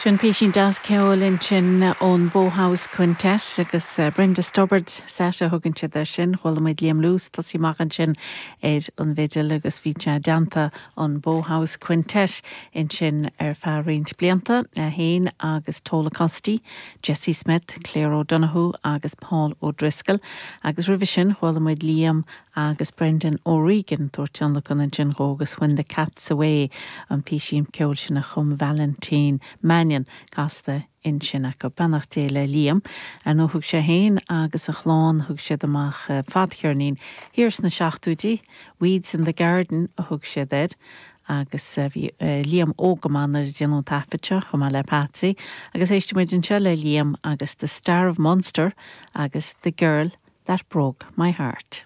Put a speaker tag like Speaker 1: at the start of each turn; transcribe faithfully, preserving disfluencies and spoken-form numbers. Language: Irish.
Speaker 1: Sin písín deas ceoil ansin ón Bowhouse Quintet agus eh, Brenda Stubbard set a thugann siad air sin, chuala muid Liam Lewis tosaí amach ansin ar an bhfidil agus bhí sé déanta an Bowhouse Quintet ansin ar feadh roinnt blianta é féin agus Tola Costy, Jesse Smith, Claire O'Donoghue agus Paul O'Driscoll agus roimhe sin chuala muid Liam agus Brendan O'Regan tabhairt tionlacan ansin dhó agus When the Cat's Away an písín ceoil sin a chum Valentine Mannion casta ansin acu beannacht Dé le Liam ar nó thug sé féin agus a chlann thug siad amach eh, fadcheirnín thiar sna seachtóidí, Weeds in the Garden a thug siad air agus eh, bhí eh, Liam óg go maith nuair a déanadh an taifead seo chomh maith le Patsy, agus éistfimid anseo le Liam agus The Star of Munster agus The Girl That Broke My Heart.